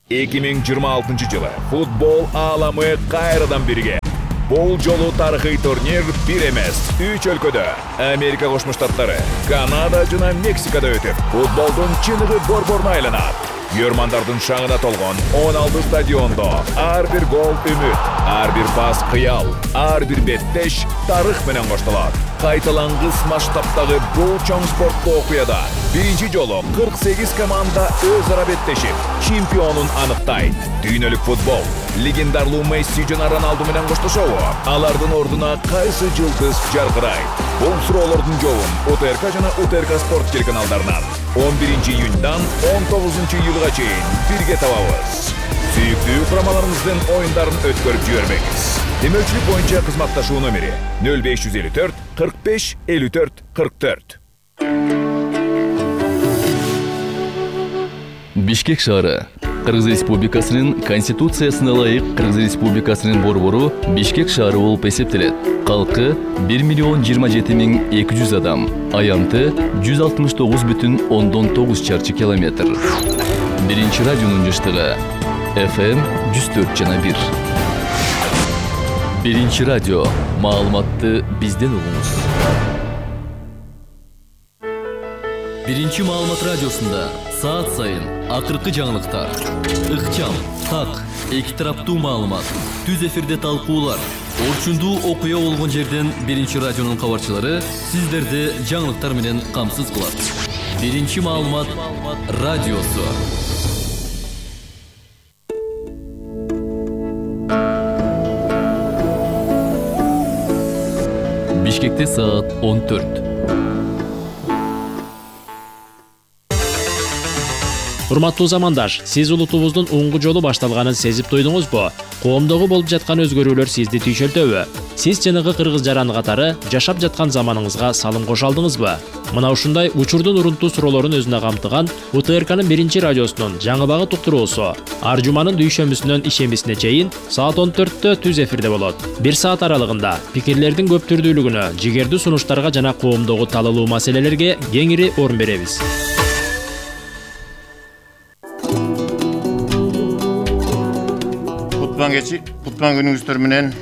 2026 жылы футбол ааламы кайрадан бирге. Бул жолу тарыхый турнир бир эмес, 3 өлкөдө, Америка Кошмо Штаттары, Канада жана Мексикада өтүп, футболдун чыныгы борборуна айланат. Йөрмандардын шаңына толгон 16 стадиондо ар бир гол үмүт, ар бир пас кыял, ар бир беттеш тарых менен коштолот. Кайталангыс масштабтагы бул чоң спорттуу окуяда биринчи жолу 48 команда өз ара беттешип, чемпионун аныктайт. Дүйнөлүк футбол легендарлуу Месси жана Роналду менен коштошобу? Алардын ордуна кайсы жылдыз жаркырайт? Бул суроолордун жообун УТРК жана УТРК Спорт телеканалдарынан 11 июньдан 19 июлга чейин бирге табабыз. Сүйүктүү курамаларыңыздын оюндарын өткөрүп жибербеңиз. Демөчүлүк боюнча кызматташуу номери 0554 45 54 44. Бишкек шаары. Кыргыз Республикасынын Конституциясына ылайык Кыргыз Республикасынын борбору Бишкек шаары болуп эсептелет. Калкы 1,27,200 адам. Аянты 169,9 чарчы километр. Биринчи радионун жыштыгы FM 104,1. Биринчи радио. Маалыматты бизден угуңуз. Биринчи маалымат радиосунда саат сайын акыркы жаңылыктар, ыкчам, так, эки тараптуу маалымат, түз эфирде талкуулар, орчундуу окуя болгон жерден биринчи радионун кабарчылары сиздерди жаңылыктар менен камсыз кылат. Биринчи маалымат радиосу. Бишкекте саат 14. Урматтуу замандаш, сиз улутубуздун уңгу жолу башталганын сезип туйдуңузбу? Коомдогу болуп жаткан өзгөрүүлөр сизди түйшөлтөбү? Сиз чыныгы кыргыз жараны катары жашап жаткан заманыңызга салым кошо алдыңызбы? Мына ушундай учурдун урунтуу суроолорун өзүнө камтыган УТРКнын биринчи радиосунун жаңыбагы туктуруусу ар жуманын дүйшөмбүсүнөн ишембисине чейин саат 14-тө түз эфирде болот. 1 саат аралыгында пикирлердин көп түрдүүлүгүнө, жигердүү сунуштарга жана коомдогу талалуу маселелерге кеңири орун беребиз. Кутман күнүңүздөр менен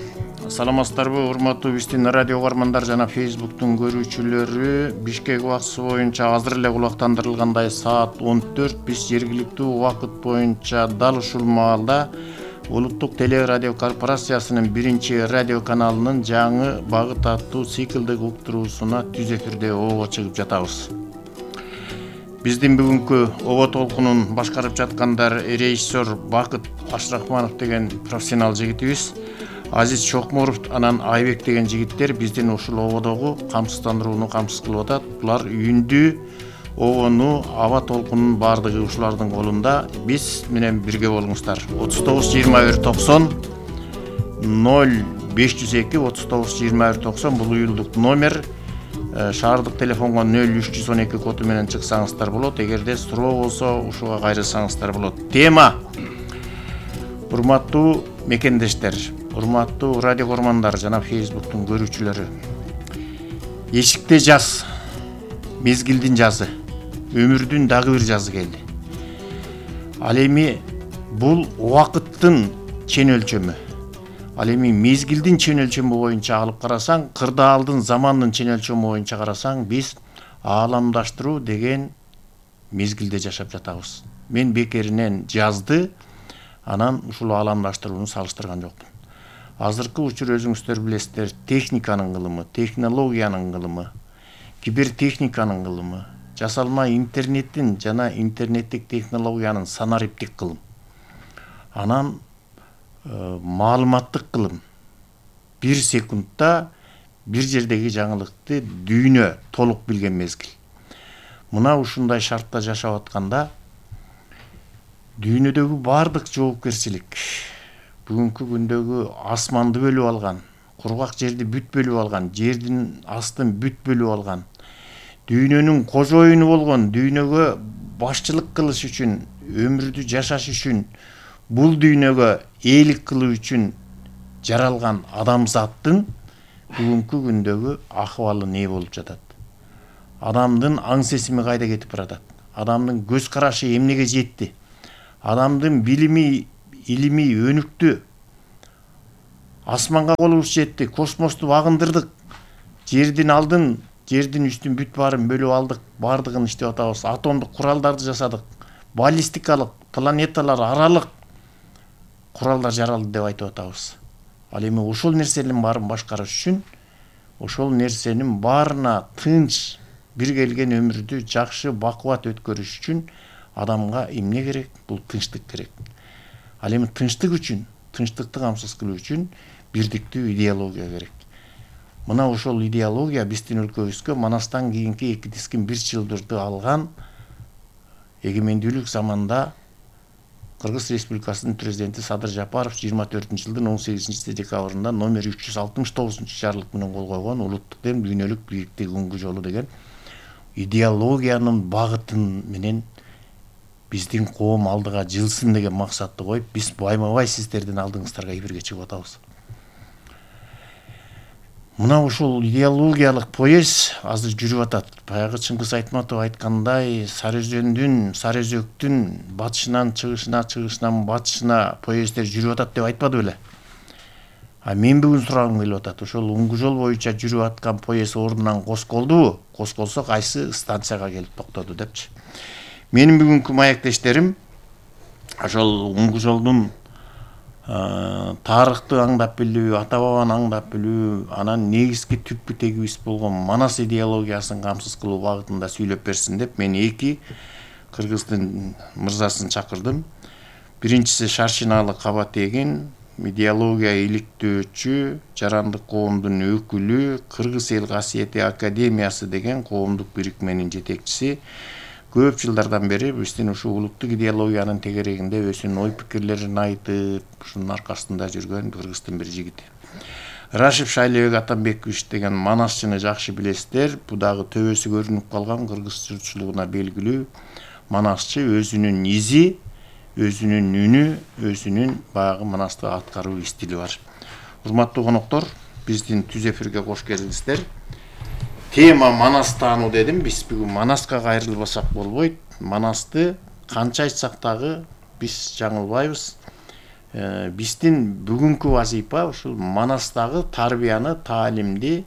саламатсыздарбы, урматтуу биздин радио угармандар жана Facebooktун көрүүчүлөрү. Бишкек убактысы боюнча азыр эле кулактандырылгандай саат 14 биз жергиликтүү убакыт боюнча дал ушул маалда Улуттук телерадио корпорациясынын биринчи радио каналынын жаңы багыт аттуу циклдик уктуруусуна түз эфирде ого чыгып жатабыз. Биздин бүгүнкү ого толкунун башкарып жаткандар режиссер Бакыт Ашрахманов деген профессионал жигитибиз, Азиз Чокморов анан Айбек деген жигиттер биздин ушул ободогу камсыздандырууну камсыз кылып атат. Булар үйүндү, огону, аба толкунунун баардыгы ушулардын колунда. Биз менен бирге болуңуздар. 39-21-90 0502 39-21-90 бул уюлдук номер. Шаардык телефонго 0312 коду менен чыксаңыздар болот. Эгерде суроо болсо ушуга кайрылсаңыздар болот. Тема: урматтуу мекендештер, урматтуу радио көрмандар жана Facebooktун көрүүчүлөрү. Эшикте жаз, мезгилдин жазы, өмүрдүн дагы бир жазы келди. Ал эми бул убакыттын чен өлчөмү. Ал эми мезгилдин чен өлчөмү боюнча алып карасаң, кырдаалдын замандын чен өлчөмү боюнча карасаң, биз ааламдаштыруу деген мезгилде жашап жатабыз. Мен бекеринен жазды, анан ушул ааламдаштырууну салыштырган жокмун. Азыркы учур өзүңүздөр билесиздер, техниканын кылымы, технологиянын кылымы, кибертехниканын кылымы, жасалма интернеттин жана интернеттик технологиянын санариптик кылым. Анан маалыматтык кылым. 1 секундта бир жердеги жаңылыкты дүйнө толук билген мезгил. Мына ушундай шартта жашап атканда дүйнөдөгү бардык жоопкерчилик, бүгүнкү күндөгү асманды бөлүп алган, кургак жерди бүт бөлүп алган, жердин астын бүт бөлүп алган, дүйнөнүн кожоюну болгон, дүйнөгө башчылык кылыш үчүн, өмүрдү жашаш үчүн, бул дүйнөгө ээлик кылуу үчүн жаралган адамзаттын бүгүнкү күндөгү акыбалы не болуп жатат? Адамдын аң сезими кайда кетип баратат? Адамдын көз карашы эмнеге жетти? Адамдын билими, илими өнүктү. Асманга колубуз жетти, космосту багындырдык. Жердин алдын, жердин үстүн бүт баарын бөлүп алдык, баардыгын иштеп атабыз. Атомдук куралдарды жасадык. Баллистикалык, планеталар аралык куралдар жаралды деп айтып атабыз. Ал эми ошол нерсенин баарын башкарыш үчүн, ошол нерсенин баарына тынч бир келген өмүрдү жакшы, бакубат өткөрүш үчүн адамга эмне керек? Бул тынчтык керек. Ал эми тынчтык үчүн, тынчтыкты камсыз кылуу үчүн бирдиктүү идеология керек. Мына ошол идеология биздин өлкөбүзгө Манастан кийинки 2 тискин 1 жылдырды алган эгемендүүлүк заманда Кыргыз Республикасынын президенти Садыр Жапаров 24-жылдын 18 декабрында номер 369 жарлык менен кол койгон улуттук дем дүйнөлүк бийиктик уңгу жолу деген идеологиянын багытын менен биздин коом алдыга жылсын деген максатты коюп, биз байма-бай сиздердин алдыңыздарга эфирге чыгып атабыз. Мына ушул идеологиялык поезд азыр жүрүп атат. Баягы Чыңгыз Айтматов айткандай, Сарыөзөктүн батышынан чыгышына, чыгышынан батышына поезддер жүрүп атат деп айтпады беле? Мен бүгүн сурагым келип атат. Ошол уңгу жол боюнча жүрүп аткан поезд ордунан косколдубу? Косколсо кайсы станцияга келип токтоду депчи. Менин бүгүнкү маектештерим ошол уңгу жолдун тарыхты аңдап билүү, ата бабаны аңдап билүү, анан негизги түпкү тегибиз болгон Манас идеологиясын камсыз кылуу багытында сүйлөп берсин деп мен 2 кыргыздын мырзасын чакырдым. Биринчиси Шаршиналы Кабатегин, идеология иликтөөчү, жарандык коомдун өкүлү, Кыргыз эл касиети академиясы деген коомдук бирикменин жетекчиси. Көп жылдардан бери биздин ушул улуттук идеологиянын тегерегинде өзүнүн ой пикирлерин айтып, ушунун аркасында жүргөн кыргыздын бир жигити. Рашев Шайлебек Атамбекович деген манасчыны жакшы билесиздер. Бул дагы төбөсү көрүнүп калган кыргыз журтчулугуна белгилүү манасчы, өзүнүн изи, өзүнүн үнү, өзүнүн баягы манасты аткаруу стили бар. Урматтуу коноктор, биздин түз эфирге кош келдиңиздер. Тема Манас таануу дедим. Биз бүгүн Манаска кайрылбасак болбойт. Манасты канча айтсак дагы биз жаңылбайбыз. Биздин бүгүнкү вазифа ушул Манастагы тарбияны, таалимди,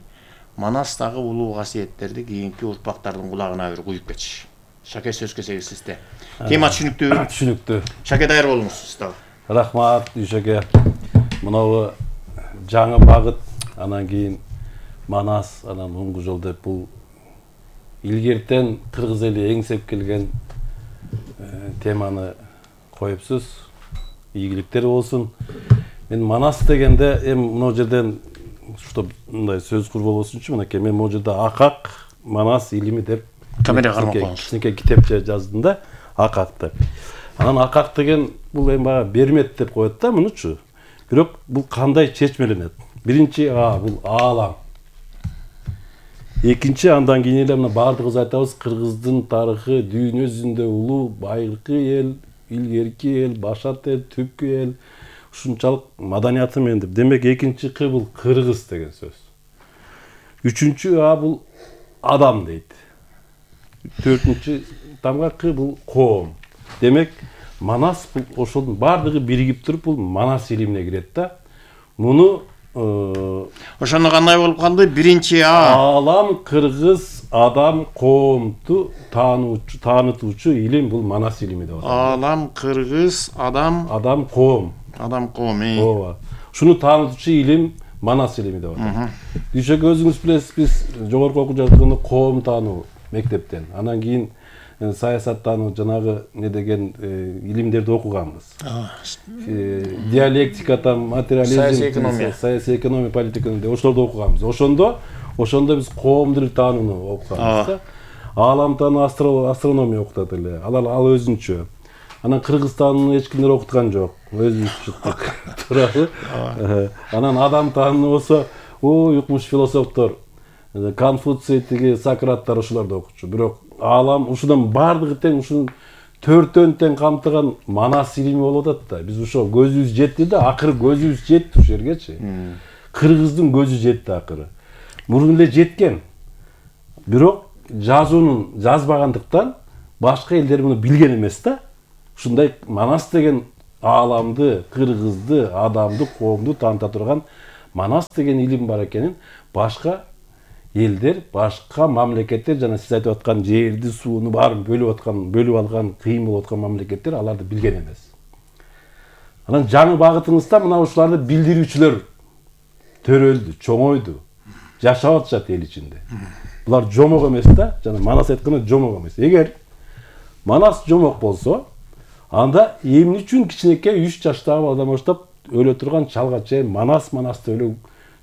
Манастагы улуу касиеттерди кийинки урпактардын кулагына бир куюп кетиш. Шаке, сөз кезеги сизде. Тема түшүнүктүүбү? Түшүнүктүү. Шаке, даяр болуңуз сиз дагы. Рахмат, Шаке. Мынабу жаңы багыт, анан кийин Манас, анан уңгу жол деп бул илгертен кыргыз эли эңсеп келген теманы коюпсуз. Ийгиликтер болсун. Мен Манас дегенде мына жерден что мындай сөз курболбосунчу, мынакей мен могу жерде Акак Манас илими деп камера кармап коюңуз. Кичинекей китепче жаздым да, Акак деп. Анан Акак деген бул эми бага бермет деп коет да мунучу. Бирок бул кандай чечмеленет? Биринчи бул аалам. Экинчи, андан кийин эле мына баардыгыбыз айтабыз, кыргыздын тарыхы дүйнө жүзүндө улуу, байыркы эл, илгерки эл, башат эл, түпкү эл, ушунчалык маданияты менен деп. Демек экинчи К бул кыргыз деген сөз. Үчүнчү А бул адам дейт. Төртүнчү тамга К бул коом. Демек Манас бул ошонун баардыгы биригип туруп бул Манас илимине кирет да. Муну ошондо кандай болуп калды? Биринчи А аалам, кыргыз, адам, коомду таанытуучу илим бул Манас илими деп аталат. Аалам, кыргыз, адам, коом. Адам, коом. Ооба. Ушуну таанытуучу илим Манас илими деп аталат. Дүйшөк, өзүңүз билесиз, биз жогорку окуу жатканда коом таануу мектептен, анан кийин саясаттануу жанагы не деген илимдерди окуганбыз. Диалектикадан, материализм, саясий экономия, политика ошолорду окуганбыз. Ошондо биз коомдук таанууну окуганбыз да. Аалам таануу, астрономия окутат эле. Ал өзүнчө. Анан Кыргызстандын эч кимдер окуткан жок. Өзүбүз чыктык. Туурабы? Анан адам таануу болсо, укмуш философтор, Конфуций, Сократтар ошолорду окучу. Бирок аалам ушунун баардыгы тең, ушунун төртөн тең камтыган Манас илими болуп атат да. Биз ошо көзүбүз жетти да, акыры көзүбүз жетти ушул жергечи. Кыргыздын көзү жетти акыры. Мурун эле жеткен. Бирок жазуунун жазбагандыктан башка элдер муну билген эмес да. ушундай Манас деген ааламды, кыргызды, адамды, коомду тааныта турган Манас деген илим бар экенин башка элдер, башка мамлекеттер, жана сиз айтып аткан жерди, сууну баарын бөлүп алган, кыйын болуп аткан мамлекеттер аларды билген эмес. Анан жаңы багытыңызда мына ушуларды билдирүүчүлөр төрөлдү, чоңойду, жашап атышат эл ичинде. Булар жомок эмес да, жана Манас айткандай жомок эмес. Эгер Манас жомок болсо, анда эмне үчүн кичинекей 3 жаштагы баладан баштап өлө турган чалга чейин Манасты өлө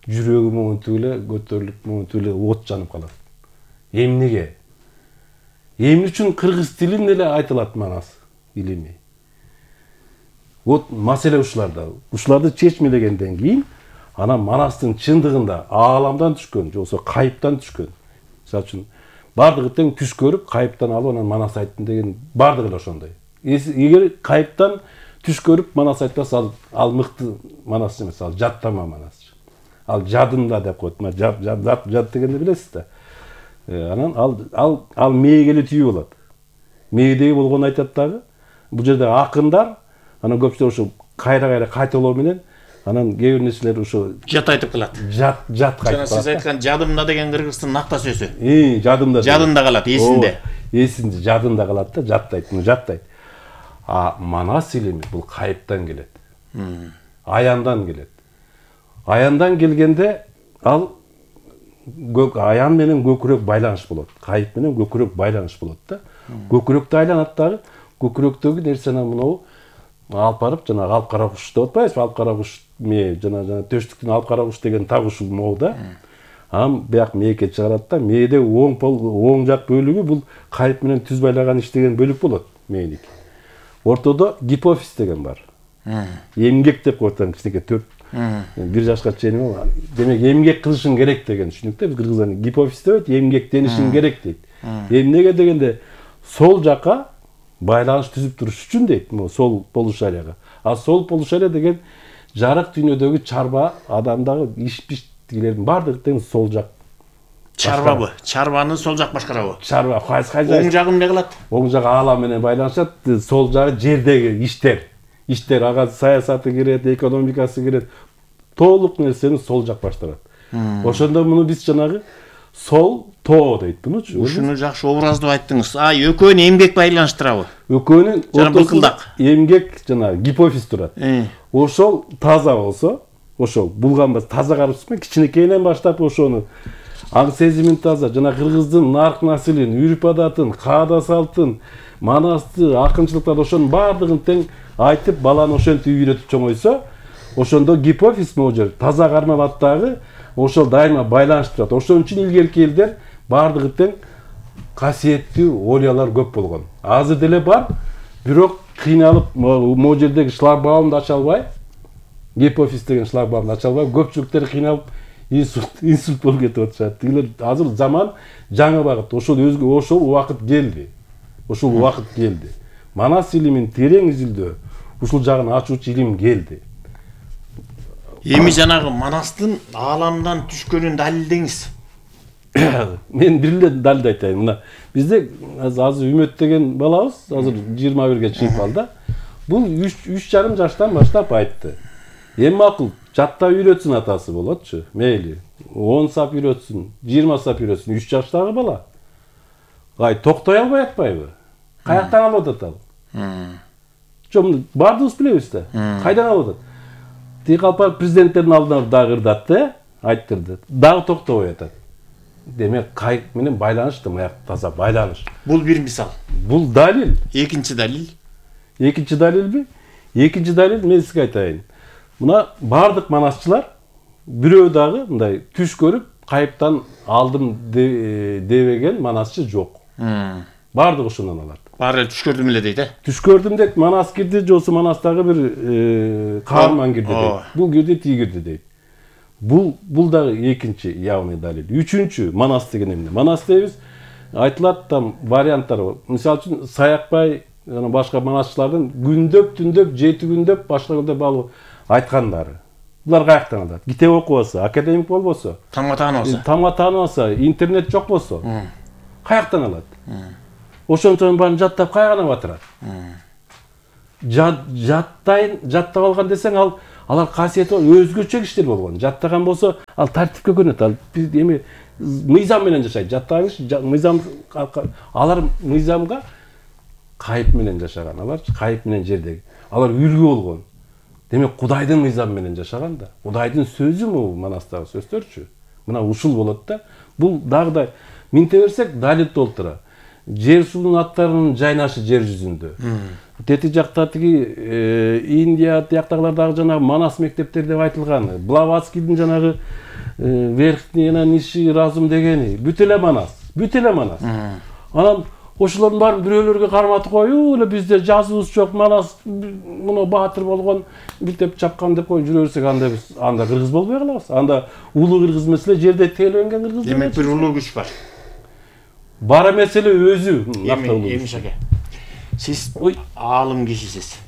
жүрөгү момунтуп эле көтөрүлүп, момунтуп эле от жанып калат. Эмнеге? Эмне үчүн кыргыз тилин эле айтылат Манас илими? Вот маселе ушуларда. Ушуларды чечмелегенден кийин анан Манастын чындыгында ааламдан түшкөн, же болбосо кайыптан түшкөн. Мисалы үчүн бардыгы тең түш көрүп, кайыптан алып анан Манас айттым деген бардыгы эле ошондой. Эгер кайыптан түш көрүп Манас айтпаса, ал мыкты Манас эмес, ал жаттама Манас. Ал жадымда деп коет. Жад дегенди билесиз да. Анан ал мээге эле түйүү болот. Мээдеги болгону айтат дагы. Бул жерде акындар, анан көпчүлөр ошо кайра кайталоо менен анан кээ бир нерселер ошо жат айтып калат. Жат кайтып калат. Сиз айткан жадымда деген кыргыздын накта сөзү. Жадымда калат, эсинде. Эсинде, жадымда калат да, жаттайт. Манас илими бул кайыптан келет. Аяндан келет. Аяндан келгенде ал аян менен көкүрөк байланыш болот. Кайып менен көкүрөк байланыш болот да. Көкүрөктү айланат дагы. Көкүрөктөгү нерсени мынау алып барып, жана алып кара куш деп атпайбызбы? Алып кара куш мээ, жана төштүктүн алып кара куш деген так ушул моо да. Анан бияк мээке чыгарат да, мээде оң жак бөлүгү бул кайып менен түз байлаган иштеген бөлүк болот мээники. Ортодо гипофиз деген бар. Эмгек деп коет, кичинекей 4-1 жашка чейин. Демек эмгек кылышың керек деген түшүнүктө. Биз кыргыздар гипофиз деп эмгектенишиң керек дейт. Эмнеге дегенде сол жака байланыш түзүп туруш үчүн дейт, сол полушарияга. Сол полушария деген жарык дүйнөдөгү чарба, адамдагы иш-пиштигилердин бардыгы тең сол жак. Чарбабы? Чарбаны сол жак башкарабы? Чарба, оң жагы эмне кылат? Оң жагы аалам менен байланышат, сол жагы жердеги иштер, ага саясаты кирет, экономикасы кирет. Толук нерсени сол жак баштырат. Ошондо муну биз жанагы сол тоо дейт бунучу. Ушуну жакшы образдуу айттыңыз. Экөөнү эмгек байланыштырабы? Экөөнүн ортосунда эмгек жана гипофиз турат. Ошол таза болсо, ошол булганбас таза карышпай кичинекейинен баштап ошону аң сезимин таза, жана кыргыздын нарк насилин, үрп адатын, каада салтын, Манасты, акынчылыктарды ошонун бардыгын тең айтып, баланы ошентип үйрөтүп чоңойсо, ошондо гипофиз могу жер таза кармалат дагы, ошол дайыма байланыштырат. Ошон үчүн илгерки элдер бардыгы тең касиеттүү олиялар көп болгон. Азыр деле бар, бирок кыйналып могу жердеги шлагбаумду ача албай, гипофиз деген шлагбаумду ача албай, көпчүлүктөр кыйналып инсульт болуп кетип атышат. Тигилер азыр заман жаңы багыт. Ошол убакыт келди. Манас илимин терең изилдөө, ушул жагын ачуучу илим келди. Эми жанагы Манастын ааламдан түшкөнүн далилдеңиз. Мен бир эле далилди айтайын. Мына бизде азыр Үмөт деген балабыз, азыр 21-ге чыгып калды. Бул 3,5 жаштан баштап айтты. Эми макул жаттап үйрөтсүн атасы болотчу. Мейли. 10 сап үйрөтсүн, 20 сап үйрөтсүн, 3 жаштагы бала. Токтой албай атпайбы? Каяктан алып атат ал? Жок, бардыгыбыз билебиз да. Кайдан алып атат? Тиги калпак президенттердин алдына дагы ырдатты, айттырды. Дагы токтобой атат. Демек кайык менен байланыш да, маяк таза байланыш. Бул бир мисал. Бул далил. Экинчи далил. Экинчи далилби? Экинчи далил мен сизге айтайын. Мына бардык манасчылар бирөө дагы мындай түш көрүп кайыптан алдым дебеген манасчы жок. Бардык ошондон алат. Баары түш көрдүм эле дейт, Түш көрдүм деп Манас кирди, жосу Манастагы бир каарман кирди дейт. Бул кирди, тиги кирди дейт. Бул дагы экинчи явный далил. Үчүнчү Манас деген эмне? Манас дейбиз, айтылат там варианттар бар. Мисалы үчүн Саякбай жана башка манасчылардын күндөп, 7 күндөп башка күндөп алып айткандары. Булар каяктан алат? Китеп окубаса, академик болбосо, тамга тааныбаса, интернет жок болсо, каяктан алат? Ошончонун баарын жаттап кайгана батырат. жаттап алган десең, алар касиети өзгөчө кишилер болгон. Жаттаган болсо, ал тартипке көнөт. Ал эми мыйзам менен жашайт. Жаттаган киши мыйзам, алар мыйзамга кайып менен жашаган. Алар кайып менен жердеги. Алар үлгү болгон. Демек Кудайдын мыйзамы менен жашаган да. Кудайдын сөзү бул манастагы сөздөрчү. Мына ушул болот да. Бул дагы минте берсек далил толтура. Жер суунун аттарынын жайнашы жер жүзүндө. Тети жакта Индия тияктагылар дагы жанагы Манас мектептер деп айтылган. Блаватскийдин жанагы верхний ниши разум дегени бүт эле Манас. Анан ошолордун баарын бирөөлөргө карматып коюп эле бизде жазуубуз жок, Манас муну баатыр болгон, билтеп чапкан деп коюп жүрө берсек, анда кыргыз болбой калабыз. Анда улуу кыргыз эмес эле жерде тейлөнген кыргыз. Демек бир улуу күч бар. Бара меселе өзү. Эми шаке. Сиз аалым кишисиз.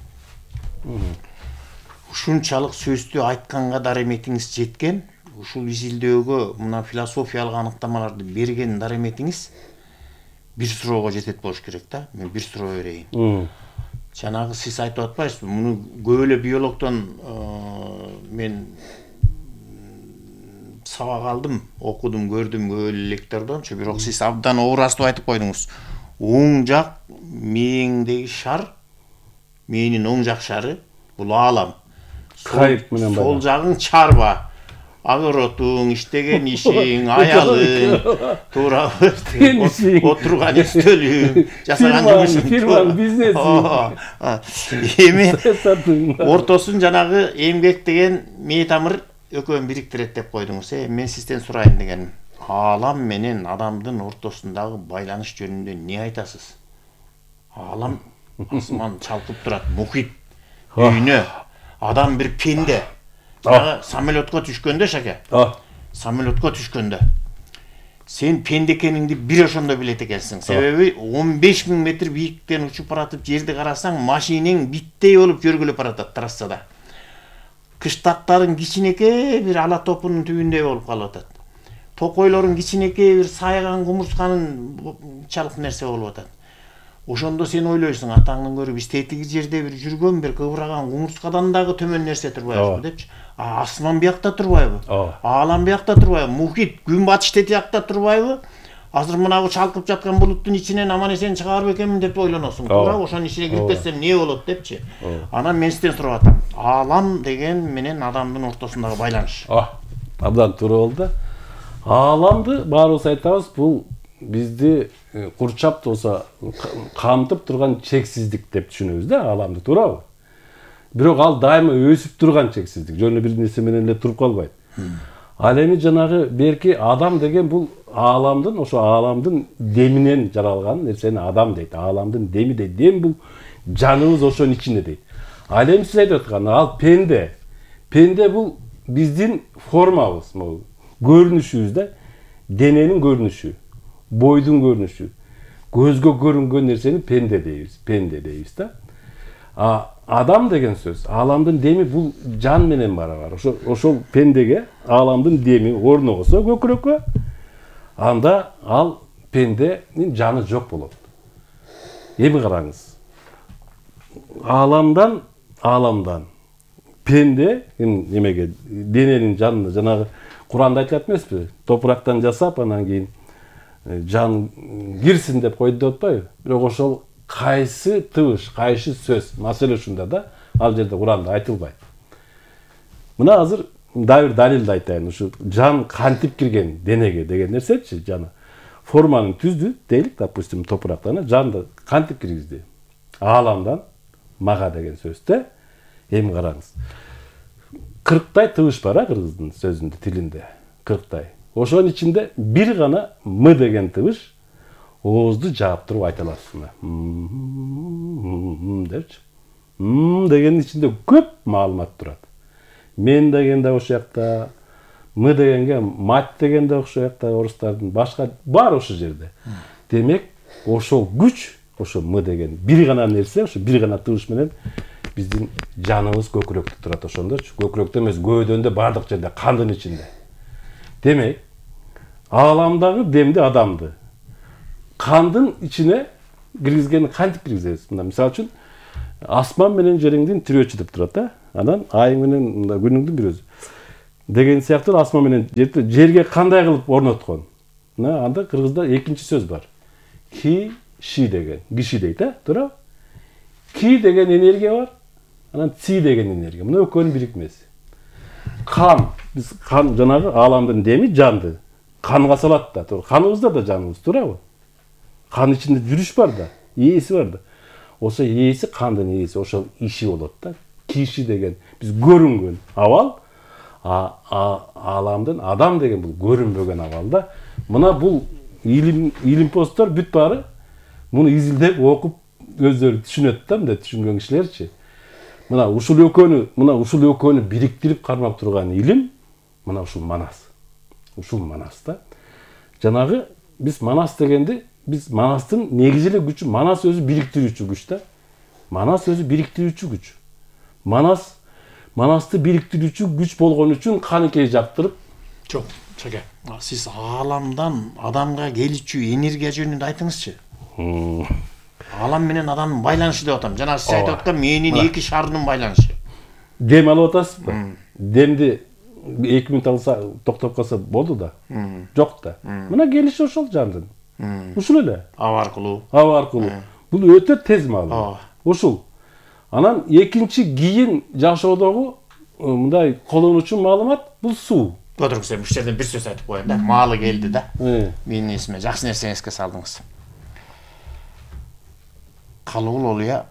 Ушунчалык сөздү айтканга дареметиңиз жеткен, ушул изилдөөгө мына философиялык аныктамаларды берген дареметиңиз бир суроого жетет болуш керек да. Мен бир суроо берейин. Жанагы сиз айтып атпайсызбы? Муну көп эле биологдон мен сабак алдым, окудум, көрдүм көп эле лектордончу, бирок сиз абдан оорастып айтып койдуңуз. Оң жак мээңдеги шар, мээнин оң жак шары бул аалам. Кайып менен бар. Сол жагың чарба. Огородуң, иштеген ишиң, аялың, туура отурган үстөлүң, жасаган жумушуң, фирмаң, бизнесиң. Эми ортосун жанагы эмгек деген мээ тамыр экөөнү бириктирет деп койдуңуз. Мен сизден сурайын дегеним. Аалам менен адамдын ортосундагы байланыш жөнүндө эмне айтасыз? Аалам асман чалкып турат, мухит, дүйнө, адам бир пенде. Самолетко түшкөндө шаке. Самолетко түшкөндө. Сен пенде экениңди бир ошондо билет экенсиң. Себеби 15 000 метр бийиктен учуп баратып жерди карасаң, машинең биттей болуп жөргүлөп баратат трассада. Кыштактарың кичинекей бир ала топунун түбүндөй болуп калып атат. Токойлорун кичинекей бир сайган кумурсканын чалык нерсе болуп атат. Ошондо сен ойлойсуң, атаңдын көрүп биз тетиги жерде бир жүргөн, бир кыбыраган кумурскадан дагы төмөн нерсе турбайбызбы депчи. Асман биякта турбайбы? Аалам биякта турбайбы? Мухит, күн батыш тетиякта турбайбы? Азыр мынагы чалкып жаткан булуттун ичинен аман эсен чыгарып экенмин деп ойлоносуң. Туура, ошонун ичине кирип кетсем эмне болот депчи. Анан мен сизден сурап атам. Аалам деген менен адамдын ортосундагы байланыш. Абдан туура болду. Ааламды баарыбыз айтабыз, бул бизди курчап болсо камтып турган чексиздик деп түшүнөбүз да, ааламды, туурабы? Бирок ал дайыма өсүп турган чексиздик, жөн эле бир нерсе менен эле туруп калбайт. Ал эми жанагы берки адам деген бул ааламдын, ошо ааламдын деминен жаралган нерсени адам дейт. Ааламдын деми дейт. Дем бул жаныбыз ошонун ичинде дейт. Ал эми сиз айтып аткан ал пенде. Пенде бул биздин формабыз, могу көрүнүшүбүз да, дененин көрүнүшү, бойдун көрүнүшү. Көзгө көрүнгөн нерсени пенде дейбиз да. Адам деген сөз, ааламдын деми бул жан менен барабар. Ошол пендеге ааламдын деми орногосо көкүрөккө, анда ал пенденин жаны жок болот. Эми караңыз. Ааламдан пенде немеге дененин жанына жанагы Куранда айтылат эмеспи? Топурактан жасап, анан кийин жан кирсин деп койду деп атпайбы? Бирок ошол кайсы тыбыш, кайсы сөз, маселе ушунда да, ал жерде Куранда айтылбайт. Мына азыр дагы бир далилди айтайын. Ушу жан кантип кирген денеге деген нерсечи, жана форманын түздү дейлик, допустим, топурактан жанды кантип киргизди? Ааламдан мага деген сөздө. Эми караңыз. 40 тыбыш бар, кыргыздын сөзүндө, тилинде. 40. Ошонун ичинде бир гана м деген тыбыш оозду жаап туруп айта аласыз. Депчи. Дегенин ичинде көп маалымат турат. Мен деген да ошол жакта, м дегенге мать деген да ошол жакта, орустардын башка бар ошол жерде. Демек, ошол күч, ошол м деген бир гана нерсе, ошо бир гана тыбыш менен биздин жаныбыз көкүрөктө турат ошондочу. Көкүрөктө эмес, көөдөндө, бардык жерде, кандын ичинде. Демек, ааламдагы демди адамды кандын ичине киргизгени кантип киргизебиз? Мына мисалы үчүн Асман менен жериңдин тирөөчү деп турат да. Анан айың менен күнүңдүн бирөөсү деген сыяктуу асман менен жерге кандай кылып орноткон. Анда кыргызда экинчи сөз бар. Ки ши деген, киши дейт, туура? Ки деген энергия бар, анан ци деген энергия. Мына экөөнүн бирикмеси. Кан, биз кан жанагы ааламдын деми жанды. Канга салат да, туура. Каныбызда да жаныбыз, туурабы? Кан ичинде жүрүш бар да, ээси бар да. Ошо ээси кандын ээси, ошол иши болот да. Киши деген биз көрүнгөн абал, ааламдын адам деген бул көрүнбөгөн абал да. Мына бул илимпоздор бүт баары муну изилдеп окуп өздөрү түшүнөт да, мындай түшүнгөн кишилерчи. Мына ушул экөөнү бириктирип кармап турган илим мына ушул манас. Ушул манас да. Жанагы биз манас дегенди, биз манастын негизи эле күчү, манас өзү бириктирүүчү күч да. Манас өзү бириктирүүчү күч. Манасты бириктирүүчү күч болгон үчүн каныкей жактырып. Жок, чаке. Сиз ааламдан адамга келүүчү энергия жөнүндө айтыңызчы. Аалам менен адамдын байланышы деп атам. Жана сиз айтып аткан менин эки шарынын байланышы. Дем алып атасызбы? Демди 2 мүнөт алса токтоп калса болду да. Жок да. Мына келиши ошол жандын. Ушул эле. Аба аркылуу. Бул өтө тез маалымат. Ушул. Анан экинчи кийин жашоодогу мындай колдонуучу маалымат бул суу. Отыруңуз, ушул жерден бир сөз айтып коеюн да. Маалы келди да. Менин эсиме жакшы нерсе эске салдыңыз. Калыгул Олия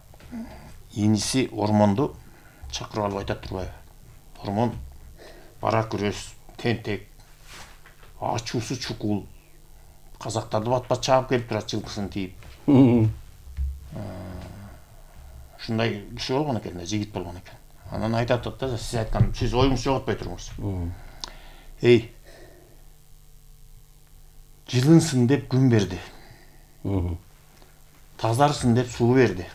иниси Ормонду чакырып алып айтат турбайбы? Ормон бара күрөс, тентек, ачуусу чукул. Казактарды бат-бат чаап келип турат жылкысын тийип. Ушундай киши болгон экен да, жигит болгон экен. Анан айтат да, сиз айткан, сиз оюңузду жоготпой туруңуз. Эй, жылынсын деп күн берди. Тазарсын деп суу берди.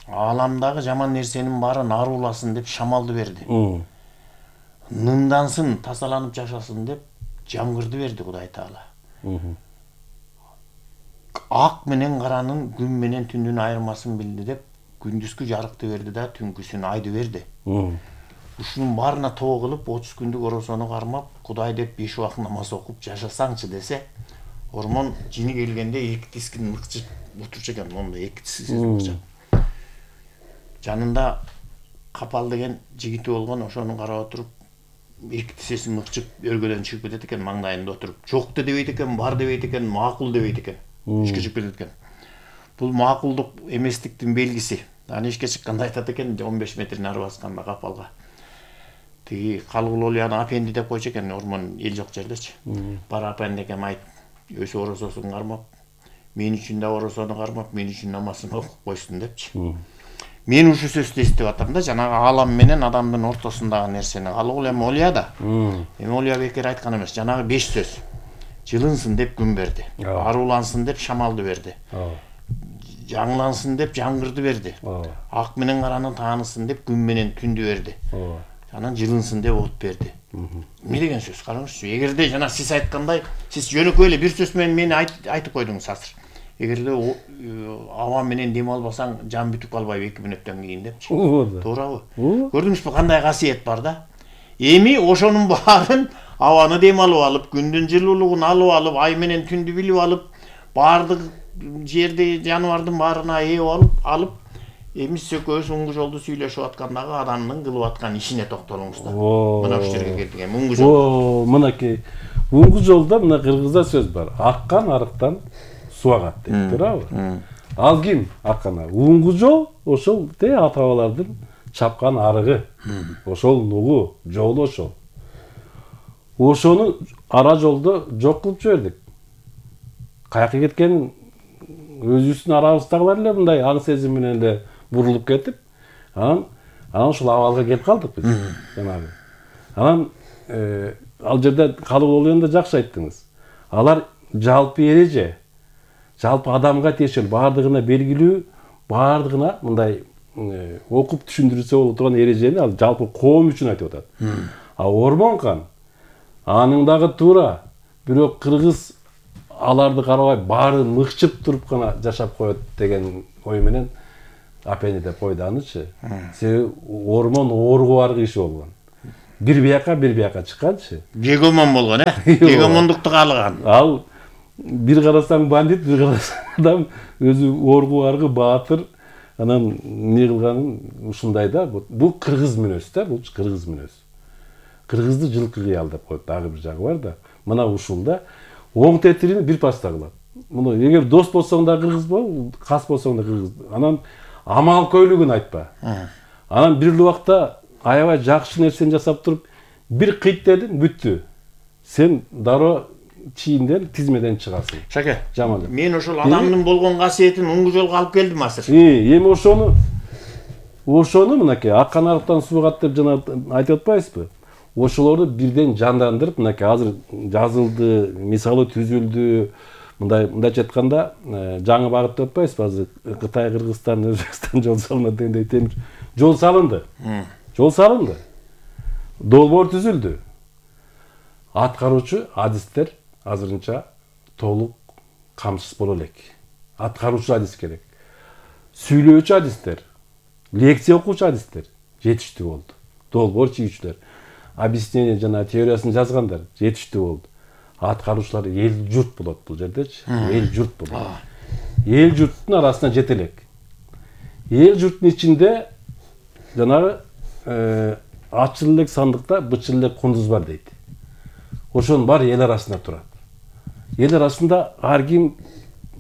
Ааламдагы жаман нерсенин баарын арууласын деп шамалды берди. Нындансын, тазаланып жашасын деп жамгырды берди Кудай Таала. Ак менен каранын, күн менен түндүн айырмасын билди деп күндүзгү жарыкты берди да, түнкүсүн айды берди. Ушунун баарына тоо кылып 30 күндүк оросону кармап, Кудай деп 5 убак намаз окуп жашасаңчы десе, Ормон жини келгенде эки тискин мыкчып отурчу экен, монда эки тискин мыкчып. Жанында Капал деген жигити болгон, ошону карап отуруп, эки тисесин мыкчып өргөдөн чыгып кетет экен, маңдайында отуруп. Жок да дебейт экен, бар дебейт экен, макул дебейт экен. Ишке чыгып кетет экен. Бул макулдук эместиктин белгиси. Аны ишке чыкканда айтат экен, 15 метрин ары басканда Капалга. Тиги Калыгул Олияны апенди деп койчу экен, Ормон эл жок жердечи. Бар апенди экем айт, өсү орососун кармап, мен үчүн да оросону кармап, мен үчүн намазын окуп койсун депчи. Мен ушул сөздү эстеп атам да, жанагы аалам менен адамдын ортосундагы нерсени. Калыгул Олия да. Эми Олия бекер айткан эмес, жанагы 5 сөз. Жылынсын деп күн берди. Аруулансын деп шамалды берди. Жаңлансын деп жамгырды берди. Ак менен каранын таанысын деп күн менен түндү берди. Анан жылынсын деп от берди. Эмне деген сөз, караңызчы. Эгерде жана сиз айткандай, сиз жөнөкөй эле бир сөз менен мени айтып койдуңуз азыр. Эгерде аба менен дем албасаң, жан бүтүп калбайбы 2 мүнөттөн кийин депчи. Туурабы? Көрдүңүзбү кандай касиет бар да? Эми ошонун баарын абаны дем алып, күндүн жылуулугун алып, ай менен түндү билип алып, баардык жерде жаныбардын баарына ээ алып, эми сиз экөөбүз уңгу жолду сүйлөшүп аткандагы адамдын кылып аткан ишине токтолуңуз да. Мына ушул жерге келдик эми уңгу жол. Мынакей уңгу жолдо мына кыргызда сөз бар. Аккан арыктан суу агат дейт, туурабы? Ал ким аккан? Уңгу жол ошол ата-бабалардын чапкан арыгы. Ошол нугу, жолу ошол. Ошону ара жолдо жок кылып жибердик. Каяка кеткенин өзүбүздүн арабыздагылар эле мындай аң сезим менен эле бурулуп кетип, анан ушул абалга келип калдык биз. Жанагы. Анан ал жерде Калыгул Олияны да жакшы айттыңыз. Алар жалпы эреже, жалпы адамга тиешелүү, баардыгына белгилүү, баардыгына мындай окуп түшүндүрүлсө боло турган эрежени ал жалпы коом үчүн айтып атат. А Ормон кан анын дагы туура, бирок кыргыз аларды карабай баарын мыкчып туруп гана жашап коет деген ой менен апени деп койду анычы. Себеби ормон оорго бар киши болгон. Бир бияка чыкканчы. Гегемон болгон, гегемондукту каалаган. Ал бир карасаң бандит, бир карасаң адам өзү оорго баргы баатыр. Анан эмне кылганын ушундай да. Бул кыргыз мүнөз да, бул кыргыз мүнөз. Кыргызды жылкы кыял деп коет, дагы бир жагы бар да. Мына ушул да оң тетирин бир паста кылат. Муну эгер дос болсоң да кыргыз бол, кас болсоң да кыргыз. Анан амал көйлүгүн айтпа. Анан бир убакта аябай жакшы нерсени жасап туруп бир кыйт дедим, бүттү. Сен дароо чийинден, тизмеден чыгасың. Шаке, жаман. Мен ошол адамдын болгон касиетин оңгу жолго алып келдим азыр. Эми ошону мынакей аккан арыктан суу кат деп жана айтып атпайсызбы? Ошолорду бирден жандандырып, мынакей азыр жазылды, мисалы түзүлдү. Мындайча айтканда, жаңы багыт деп атпайсызбы? Азыр Кытай, Кыргызстан, Өзбекстан жол салынат дегендей темир жол салынды. Жол салынды. Долбоор түзүлдү. Аткаруучу адистер азырынча толук камсыз боло элек. Аткаруучу адис керек. Сүйлөөчү адистер, лекция окуучу адистер жетиштүү болду. Долбоор чийүүчүлөр, объяснение жана теориясын жазгандар жетиштүү болду. Аткаруучулар эл журт болот бул жердечи. Эл журт болот. Эл журттун арасына жете элек. Эл журттун ичинде жанагы ачыл элек сандыкта бычыл элек кундуз бар дейт. Ошонун баары эл арасында турат. Эл арасында ар ким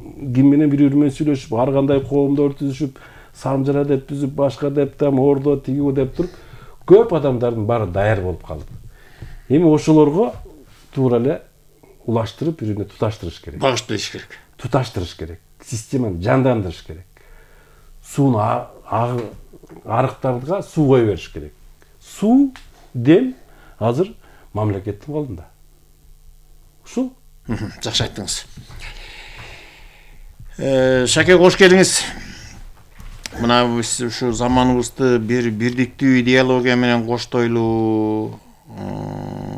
менен бири-бири менен сүйлөшүп, ар кандай коомдор түзүшүп, самжара деп түзүп, башка деп там ордо тигүү деп туруп, көп адамдардын баары даяр болуп калды. Эми ошолорго туура эле улаштырып, бири-бирине туташтырыш керек. Багыштырыш керек. Туташтырыш керек. Системаны жандандырыш керек. Сууну арыктарга суу кое бериш керек. Суу, дем азыр мамлекеттин колунда. Ушул. Жакшы айттыңыз. Шаке, кош келиңиз. Мына биз ушу заманыбызды бир бирдиктүү идеология менен коштойлуу,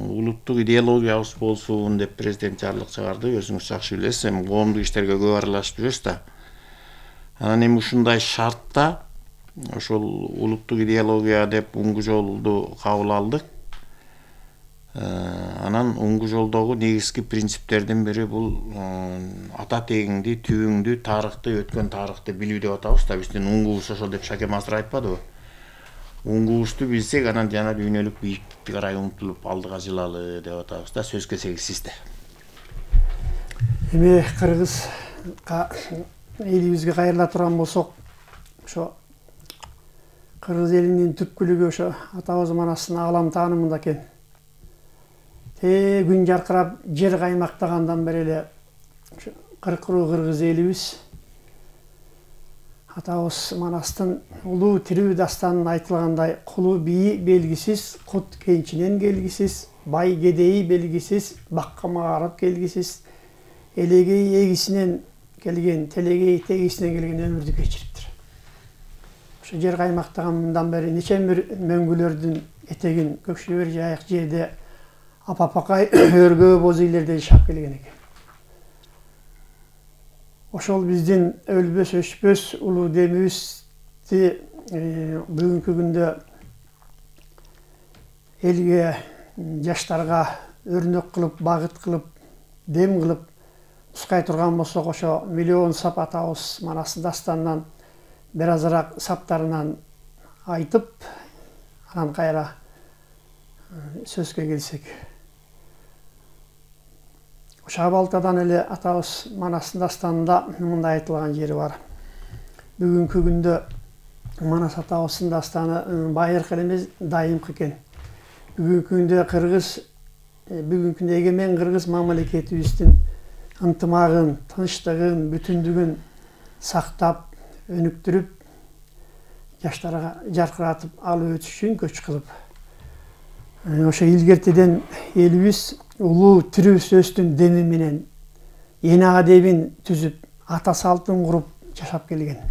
улуттук идеологиябыз болсун деп президент жарлык чыгарды. Өзүңүз жакшы билесиз, эми коомдук иштерге көп аралашып жүрөсүз да. Анан эми ушундай шартта ошол улуттук идеология деп оңгу жолду кабыл алдык. Анан оңгу жолдогу негизги принциптердин бири бул ата тегиңди, түбүңдү, тарыхты, өткөн тарыхты билүү деп атабыз да. Биздин оңгубуз ошол деп Шакем азыр айтпадыбы? Оңгубузду билсек, анан жана дүйнөлүк бийиктикке карай умтулуп алдыга жылалы деп атабыз да. Сөз кезеги сизде. Эми кыргыз элибизге кайрыла турган болсок, ошо кыргыз элинин түпкүлүгү ошо атабыз манастын аалам таанымында экен. Күн жаркырап жер каймактагандан бери эле кыркыруу кыргыз элибиз атабыз манастын улуу тирүү дастанын айтылгандай кулу бийи белгисиз, кут кенчинен келгисиз, бай кедейи белгисиз, бакка маарып келгисиз, элегей эгисинен келген, телегей тегисинен келген өмүрдү кечириптир. Ошо жер каймактагандан бери нече бир мөңгүлөрдүн этегин көкшөбөр жайык жерде апапакай өргө боз үйлерде жашап келген экен. Ошол биздин өлбөс өчпөс улуу демибизди бүгүнкү күндө элге, жаштарга өрнөк кылып, багыт кылып, дем кылып нускай турган болсок, ошо миллион сап атабыз манастын дастанынан бир азыраак саптарынан айтып, анан кайра сөзгө келсек. Ошо абалтадан эле атабыз манастын дастанында мындай айтылган жери бар. Бүгүнкү күндө манас атабыздын дастаны байыркы эмес, дайымкы экен. Бүгүнкү күндө бүгүнкү күндө эгемен кыргыз мамлекетибиздин ынтымагын, тынчтыгын, бүтүндүгүн сактап, өнүктүрүп, жаштарга жаркыратып алып өтүш үчүн көч кылып, ошо илгертеден элибиз улуу тирүү сөздүн деми менен эне адебин түзүп, ата салтын куруп жашап келген.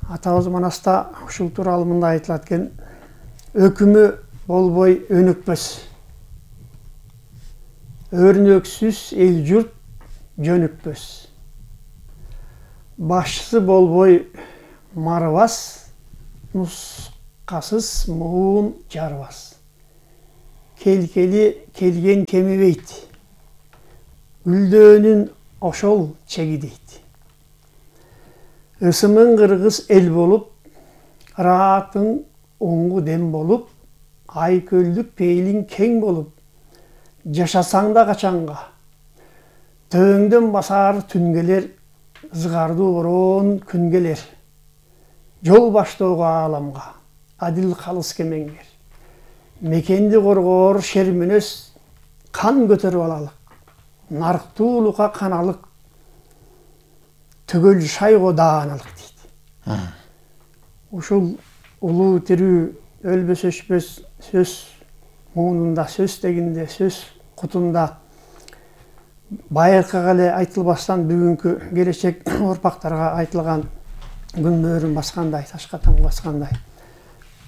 Атабыз манаста ушул тууралуу мындай айтылат экен: өкүмү болбой өнүкпөс, өрнөксүз эл журт жөнүкпөс, башчысы болбой марыбас, нускасыз муун жарбас. Келкели келген кемебейт, үлдөөнүн ошол чегидейт. Ысымың кыргыз эл болуп, ыраатың оңгу дем болуп, ай көлдүк пейлиң кең болуп, жашасаң да качанга. Төөңдөн басар түн келер, ызгардуу бороон күн келер. Жол баштоого ааламга, адил калыс кемеңгер. Мекенди коргоор шерменес, кан көтөрүп алалык. Нарктуулукка каналык, түгөл шайго дааналык дейт. Ушул улуу тирүү өлбөс өчпөс сөз муунунда, сөз тегинде, сөз кутунда байыркыга эле айтылбастан бүгүнкү келечек урпактарга айтылган күн мөөрүн баскандай, ташка там баскандай.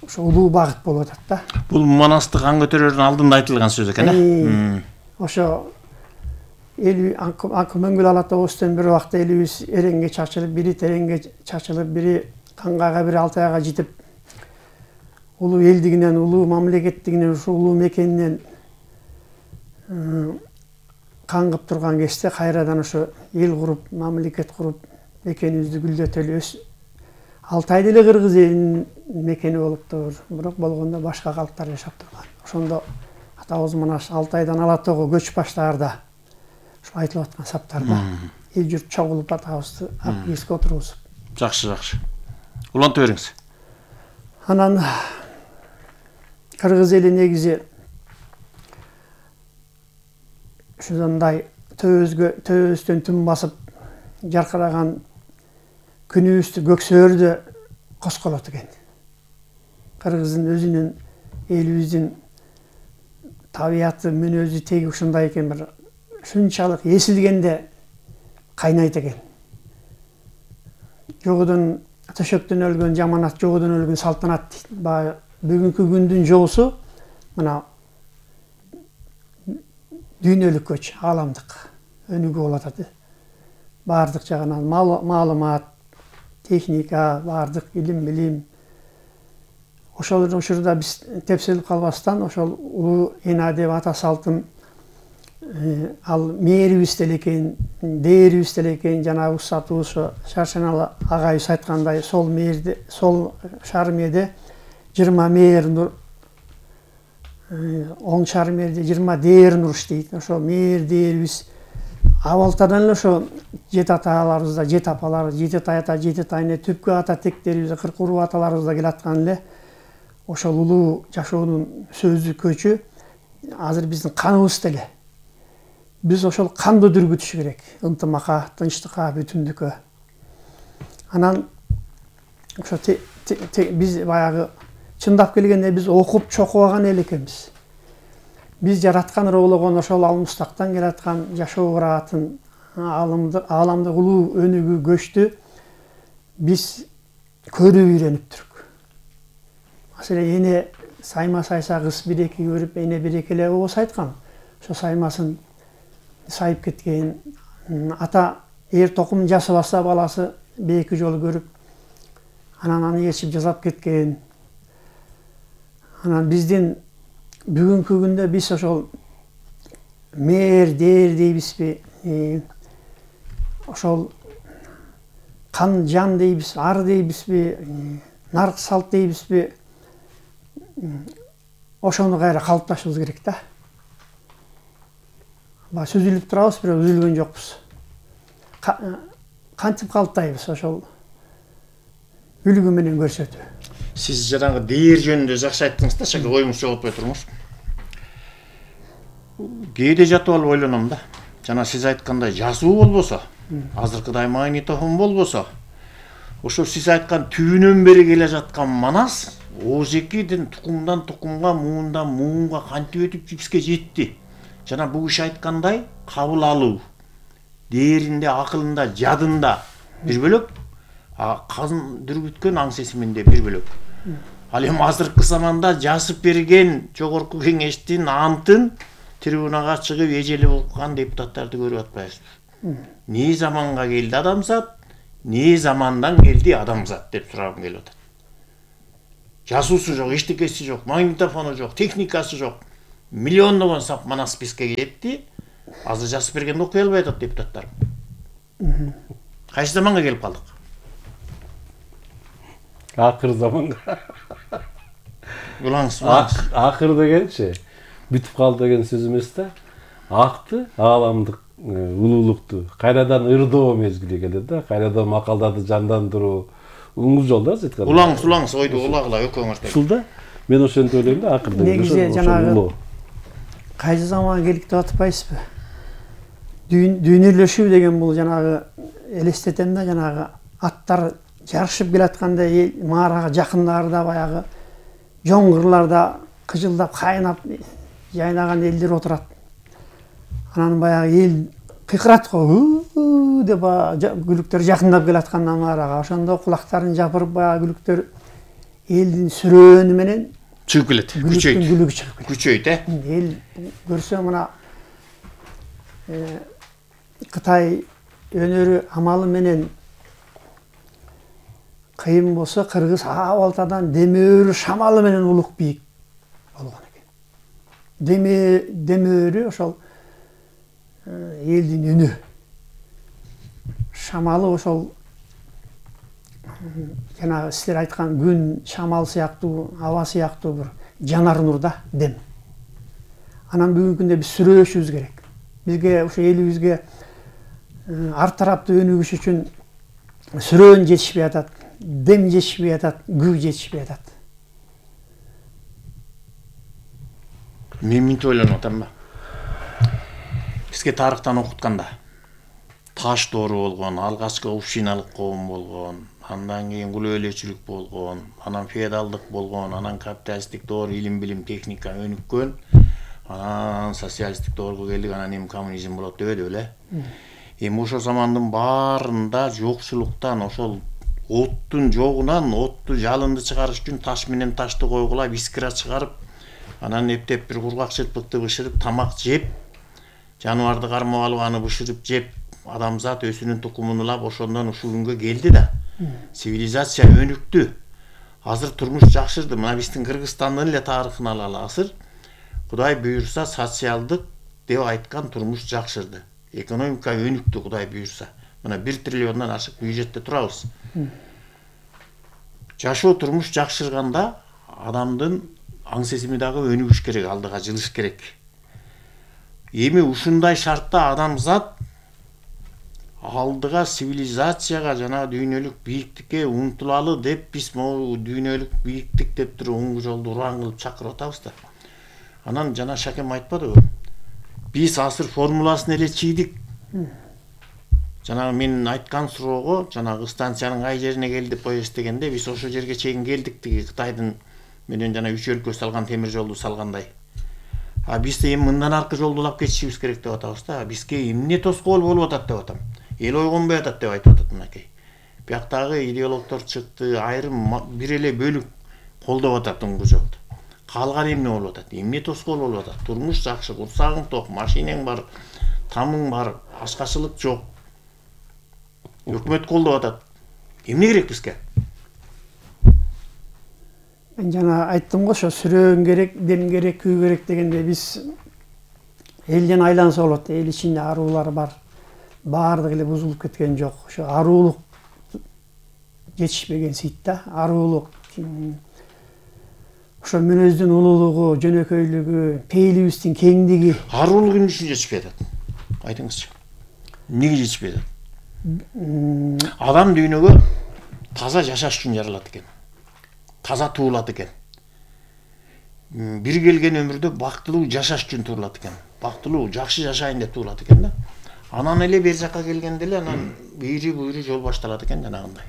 Ошо улуу багыт болуп атат да. Бул Манасты кан көтөрөрдүн алдында айтылган сөз экен, э? Ошо Акмөңгүл ала тоосунан бир убакта элибиз эреңге чачылып, бири тереңге чачылып, бири Кангага, бири Алтайга жетип, улуу элдигинен, улуу мамлекеттигинен, ушул улуу мекенинен каңгып турган кезде кайрадан ошо эл куруп, мамлекет куруп, мекенибизди гүлдөтөлү. Алтай деле кыргыз элинин мекени болуптур, бирок болгондо башка калктар жашап турган. Ошондо атабыз Манас Алтайдан Ала тоого көч баштаарда ошо айтылып аткан саптарда эл журт чогулуп атабызды ак кийизге отургузуп. Жакшы, жакшы. Улантып бериңиз. Анан кыргыз эли негизи ушундай төбөбүздөн түн басып жаркыраган күнүбүздү көксөөрдө косколот экен. Кыргыздын өзүнүн, элибиздин табияты, мүнөзү теги ушундай экен, бир шунчалык эсилгенде кайнайт экен. Жогодон төшөктөн өлгөн жаманат, жогодон өлгөн салтанат дейт. Бүгүнкү күндүн жоосу мына дүйнөлүк көч, ааламдык өнүгүү болуп атат. Баардык жагынан маалымат, техника, баардык илим. Ошол учурда биз тепселип калбастан, ошол улуу эна деп ата салтын ал мээрибиз делекен, дээрибиз делекен, жанагы усатыбыз Шаршеналы агайыбыз айткандай, сол мээрде, сол шар мээрде 20 мээр оң шар мээрде 20 дээр нуруш дейт. Ошо мээр дээрибиз абалтадан эле ошо жет аталарыбызда, жет апалар, жети тайата, жети тайне, түпкү ата тектерибизде, 40 уруу аталарыбызда келаткан эле ошол улуу жашоонун сөзү, көчү азыр биздин каныбызда эле. Биз ошол канды дүргүтүш керек, ынтымакка, тынчтыкка, бүтүндүккө. Анан ошо биз баягы чындап келгенде биз окуп чокубаган эл экенбиз. Биз жараткан, ыроологон ошол алмыстактан келаткан жашоо ыраатын, ааламдык улуу өнүгүү, көчтү биз көрүп үйрөнүптүрүк. Маселен, эне сайма сайса кыз биреки көрүп, эне биреки эле болсо айткан. Ошо саймасын сайып кеткен, ата эр токум жасыбаса баласы бейки жолу көрүп, анан аны ээрчип жасап кеткен. Анан биздин бүгүнкү күндө биз ошол мээр, дээр дейбизби, ошол кан жан дейбиз, ар дейбизби, нарк салт дейбизби, ошону кайра калыпташыбыз керек да. Сүзүлүп турабыз, бирок үзүлгөн жокпуз. Кантип калыптайбыз ошол үлгү менен көрсөтүү. Сиз жанагы дээр жөнүндө жакшы айттыңыз да, шака оюңузчу болуп отурмуш. Кээде жатып алып ойлоном да. Жана сиз айткандай жазуу болбосо, азыркыдай магнитофон болбосо, ошо сиз айткан түбүнөн бери келе жаткан Манас Ожекиден тукумдан тукумга, муундан муунга кантип өтүп бизге жетти. Жана бул киши айткандай кабыл алуу дээринде, акылында, жадында бир бөлөк, казын дүргүткөн аң сезиминде бир бөлөк. Ал эми азыркы заманда жазып берген жогорку кеңештин антын трибунага чыгып эжели болгон депутаттарды көрүп атпайбызбы? Не заманга келди адамзат, эмне замандан келди адамзат деп сурагым келип атат. Жазуусу жок, эчтекеси жок, магнитофону жок, техникасы жок. Миллиондогон сап мана списке кетти. Азыр жазып бергенди окуй албай атат депутаттар. Кайсы заманга келип калдык? Акыр заманга. Улаңыз. Акыр дегенчи бүтүп калды деген сөз эмес да. Акты, ааламдык улуулукту кайрадан ырдоо мезгили келет да. Кайрадан макалдарды жандандыруу уңгул жол да айтканда. Улаңыз ойду улагыла өкөңөр. Ушул да. Мен ошентип ойлойм да, акыр деген. Негизи жанагы кайсы заманга келдик деп атпайсызбы? Дүйнөлөшүү деген бул жанагы элестетем да, жанагы аттар жарышып келатканда маарага жакындарда баягы жоңгурларда кыжылдап кайнап жайнаган элдер отурат. Анан баягы эл кыйкырат го деп күлүктөр жакындап келатканда маарага ошондо кулактарын жапырып баягы күлүктөр элдин сүрөөнү менен чыгып келет. Күчөйт, эл көрсө мына Кытай өнөрү амалы менен кыйын болсо кыргыз абалтадан демөөрү шамалы менен улук бийик болгон экен. Демөөрү ошол элдин үнү. Шамалы ошол жанагы силер айткан күн, шамал сыяктуу, аба сыяктуу бир жанар нур да, дем. Анан бүгүнкү күндө биз сүрөөшүбүз керек. Бизге ошо элибизге ар тараптуу өнүгүш үчүн сүрөөн жетишпей атат, дем жетишпей атат, күг жетишпей атат. Мен мынтип ойлонуп атам ба. Бизге тарыхтан окутканда таш доору болгон, алгачкы общиналык коом болгон, андан кийин кул өлөчүлүк болгон, анан феодалдык болгон, анан капиталисттик доор, илим, билим, техника өнүккөн, анан социалисттик доорго келдик, анан эми коммунизм болот дебедиби эле? Эми ошол замандын баарында жокчулуктан, ошол оттун жогунан отту жалынды чыгарыш үчүн таш менен ташты койгула, искра чыгарып, анан эптеп бир кургак чырпыкты бышырып, тамак жеп, жаныбарды кармап алып аны бышырып жеп, адамзат өсүнүн тукумун улап, ошондон ушул күнгө келди да. Цивилизация өнүктү. Азыр турмуш жакшырды. Мына биздин Кыргызстандын эле тарыхын алалы. Азыр Кудай буйрса социалдык деп айткан турмуш жакшырды. Экономика өнүктү, Кудай буйрса. Мына 1 триллиондон ашык бюджетте турабыз. Жашоо турмуш жакшырганда адамдын аң сезими дагы өнүгүш керек, алдыга жылыш керек. Эми ушундай шартта адамзат алдыга цивилизацияга жана дүйнөлүк бийиктикке умтулалы деп биз могу дүйнөлүк бийиктик деп туруп оңгу жолду уран кылып чакырып атабыз да. Анан жана Шакем айтпадыбы? Биз асыр формуласын эле чийдик. Жанагы мен айткан суроого, жанагы станциянын кай жерине келди деп коесуз дегенде, биз ошол жерге чейин келдик, тиги Кытайдын менен жана 3 өлкө салган темир жолду салгандай. Биз да эми мындан аркы жолду улап кетишибиз керек деп атабыз да. Бизге эмне тоскоол болуп атат деп атам. Эл ойгонбой атат деп айтып атат мынакей. Бияктагы идеологдор чыкты, айрым бир эле бөлүк колдоп атат оңгу жолду. Калган эмне болуп атат? Эмне тоскоол болуп атат? Турмуш жакшы, курсагың ток, машинең бар, тамың бар, ашкачылык жок. Өкмөт колдоп атат. Эмне керек бизге? Мен жана айттым го, ошо сүрөөн керек, дем керек, күү керек дегенде биз элден айланса болот. Эл ичинде аруулар бар. Баардыгы эле бузулуп кеткен жок. Ошо аруулук жетишпеген сыйт да. Аруулук, ошо мүнөздүн улуулугу, жөнөкөйлүгү, пейилибиздин кеңдиги. Аруулук эмне үчүн жетишпей атат? Айтыңызчы. Эмнеге жетишпей атат? Адам дүйнөгө таза жашаш үчүн жаралат экен. Таза туулат экен. Бир келген өмүрдө бактылуу жашаш үчүн туулат экен. Бактылуу, жакшы жашайын деп туулат экен да. Анан эле бер жакка келгенде эле анан бийри буйру жол башталат экен жанагындай.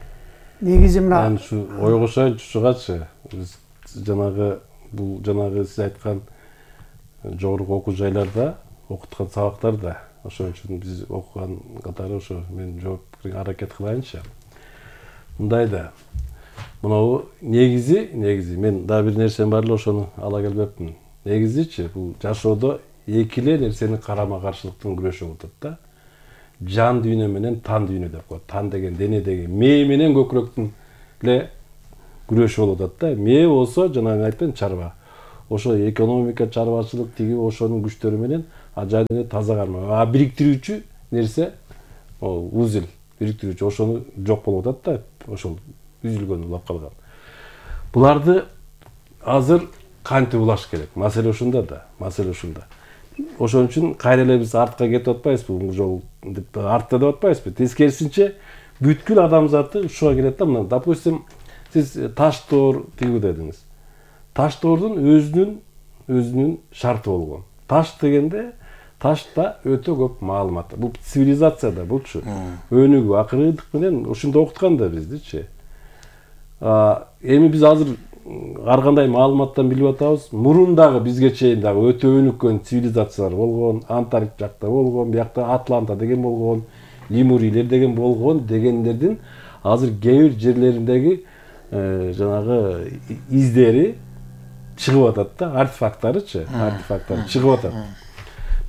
Негизи мына Мен ушу ой кошоюнчу ушугачы. Биз жанагы бул жанагы сиз айткан жогорку окуу жайларда окуткан сабактарда ошон үчүн биз окуган катары ошо мен жооп берүүгө аракет кылайынчы. Мындай да. Мынау негизи мен да бир нерсем бар эле ошону ала келбепмин. Негизичи бул жашоодо эки эле нерсенин карама каршылыктын күрөшү болуп атат да. жан дүйнө менен тан дүйнө деп коет. Тан деген денедеги мээ менен көкүрөктүн эле күрөшү болуп атат да. Мээ болсо жанагы айттым чарба. Ошо экономика, чарбачылык тиги ошонун күчтөрү менен жайда таза карма. А бириктирүүчү нерсе ол узел, бириктирүүчү ошону жок болуп атат да. Ошол үзүлгөн улап калган. Буларды азыр кантип улаш керек? Маселе ушунда да, маселе ушунда. Ошон үчүн кайра эле биз артка кетип атпайбызбы, бул жол деп артта деп атпайбызбы? Тескерисинче бүткүл адамзаты ушуга келет да. Мына, допустим, сиз таш тоор тигүү дедиңиз. Таш тоордун өзүнүн шарты болгон. Таш дегенде ташта өтө көп маалымат. Бул цивилизацияда булчу. Өнүгүү, акырындык менен ушунда окуткан да биздичи. Эми биз азыр ар кандай маалыматтан билип атабыз. Мурун дагы бизге чейин дагы өтө өнүккөн цивилизациялар болгон, Антарктик жакта болгон, биякта Атланта деген болгон, Лемурийлер деген болгон дегендердин азыр кээ бир жерлериндеги жанагы издери чыгып атат да, артефакттарычы, артефакттар чыгып атат.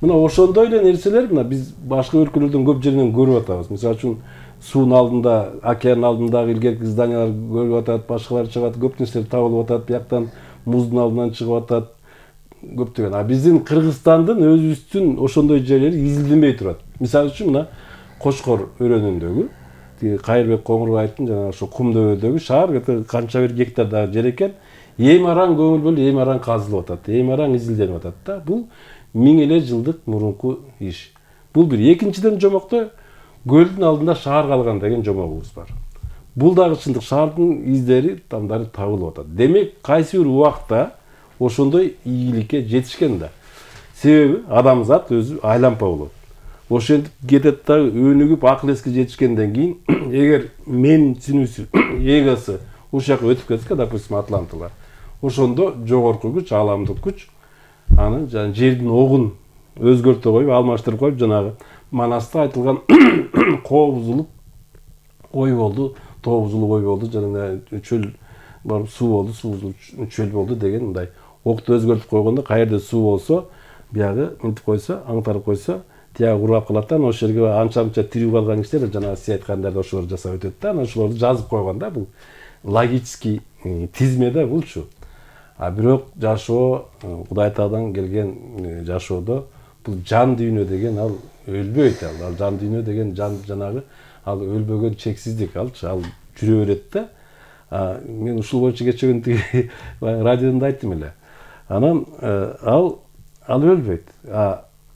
Мына ошондой эле нерселер мына биз башка өлкөлөрдүн көп жеринен көрүп атабыз. Мисалы үчүн суунун алдында, океан алдындагы илгерки зданиялар көрүп атат, башкалар чыгып атат, көп нерселер табылып атат, бияктан муздун алдынан чыгып атат, көптөгөн. А биздин Кыргызстандын өзүбүздүн ошондой жерлери изилденбей турат. Мисалы үчүн мына Кошкор өрөөнүндөгү, Кайырбек Коңурбаевдин жана ошо Кумдөбөдөгү шаар канча бир гектардагы жер экен, эми араң көңүл бөлүп, эми араң казылып атат, эми араң изилденип атат да. Бул 1000 эле жылдык мурунку иш. Бул бир. Экинчиден жомокто көлдүн алдында шаар калган деген жомогубуз бар. Бул дагы чындык, шаардын издери тамдары табылып атат. Демек, кайсы бир убакта ошондой ийгиликке жетишкен да. Себеби адамзат өзү айлампа болот. Ошентип кетет да, өнүгүп акыл эске жетишкенден кийин, эгер мен синүүсү эгосы ушул жака өтүп кетсе, допустим, атлантылар, ошондо жогорку күч, ааламдык күч аны жердин огун өзгөртө коюп, алмаштырып коюп, жанагы Манаста айтылган коо бузулуп ой болду, тоо бузулуп ой болду, жана чөл бар, суу болду, суу бузулуп чөл болду деген мындай окту өзгөртүп койгондо, каерде суу болсо, биягы мынтип койсо, аңтарып койсо, тиягы урап калат да, ошол жерге анча-мынча тирүү калган кишилер жанагы сиз айткандарды ошолор жасап өтөт да, анан ошолорду жазып койгон да, бул логический тизме да булчу. А бирок жашоо Кудай Таадан келген жашоодо бул жан дүйнө деген ал өлбөйт, ал жан дүйнө деген жанагы ал өлбөгөн чексиздик алчы, ал жүрө берет да. Мен ушул боюнча кечөгөн тиги радиодон айттым эле. Анан ал өлбөйт.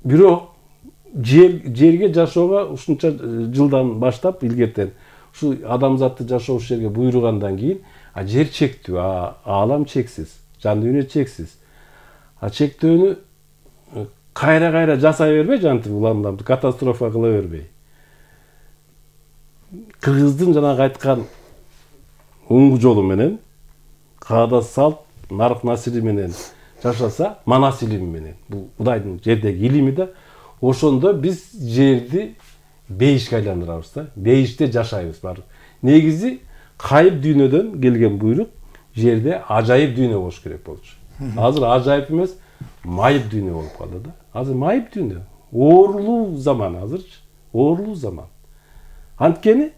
Бирок жерге жашоого ушунча жылдан баштап илгертен ушу адамзатты жашоо ушул жерге буйругандан кийин жер чектүү, аалам чексиз, жан дүйнө чексиз. Чектөөнү кайра жасай бербей, жантип уламды катастрофа кыла бербей. Кыргыздын жанагы айткан уңгу жолу менен, каада салт, нарк насири менен жашаса, манас илими менен, бул Кудайдын жердеги илими да, ошондо биз жерди бейишке айландырабыз да, бейиште жашайбыз бар. Негизи кайып дүйнөдөн келген буйрук жерде ажайып дүйнө болуш керек болчу. Азыр ажайып эмес, майып дүйнө болуп калды да. Азыр майып дүйнө, оорулуу заман азырчы, оорулуу заман. Анткени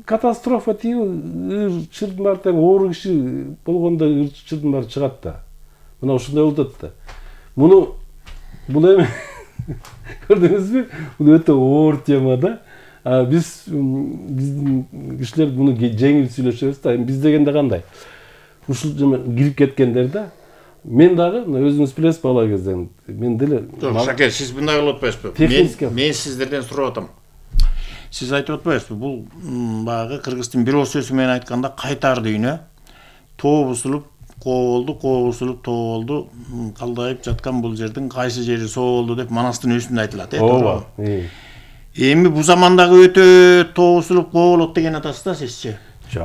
катастрофа тиги чырдын баары тең оору киши болгондо чырдын баары чыгат да. Мына ушундай болуп атат да. Бул эми көрдүңүзбү? Бул өтө оор тема да. Биздин кишилер муну жеңил сүйлөшөбүз да. Биз дегенде кандай? Ушул кирип кеткендер да. Мен дагы өзүңүз билесиз бала кезден. Мен деле жок, Шаке, сиз мындай кылып атпайсызбы? Мен сиздерден сурап атам. Сиз айтып атпайсызбы? Бул баягы кыргыздын бир сөзү менен айтканда кайтар дүйнө, тоо бузулуп коо бузулуп тоо болду, калдайып жаткан бул жердин кайсы жери соо болду деп Манастын өзүндө айтылат, Ооба. Эми бул замандагы өтө тоо бузулуп коо болот деген атасыз да сизчи?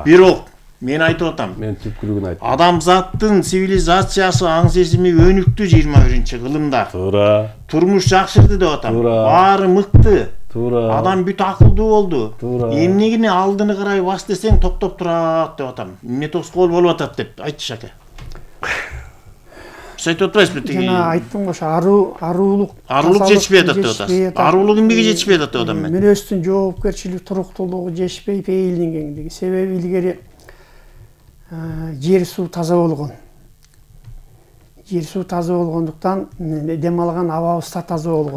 Бирок мен айтып атам. Мен түпкүрүгүн айттым. Адамзаттын цивилизациясы, аң сезими өнүктү 21-кылымда. Туура. Турмуш жакшырды деп атам. Баары мыкты. Туура. Адам бүт акылдуу болду. Эмнегини алдыны карай бас десең токтоп турат деп атам. Эмне тоскоол болуп атат деп айтчы Шаке. Биз айтып атпайбызбы тиги? Жана айттым го, ошо аруулук жетишпей атат деп атасыз. Аруулук эмнеге жетишпей атат деп атам мен. Мүнөздүн жоопкерчилик, туруктуулугу жетишпей, пейилдин кеңдиги. Себеби илгери жер суу таза болгон. Жер суу таза болгондуктан дем алган абабыз да таза болгон.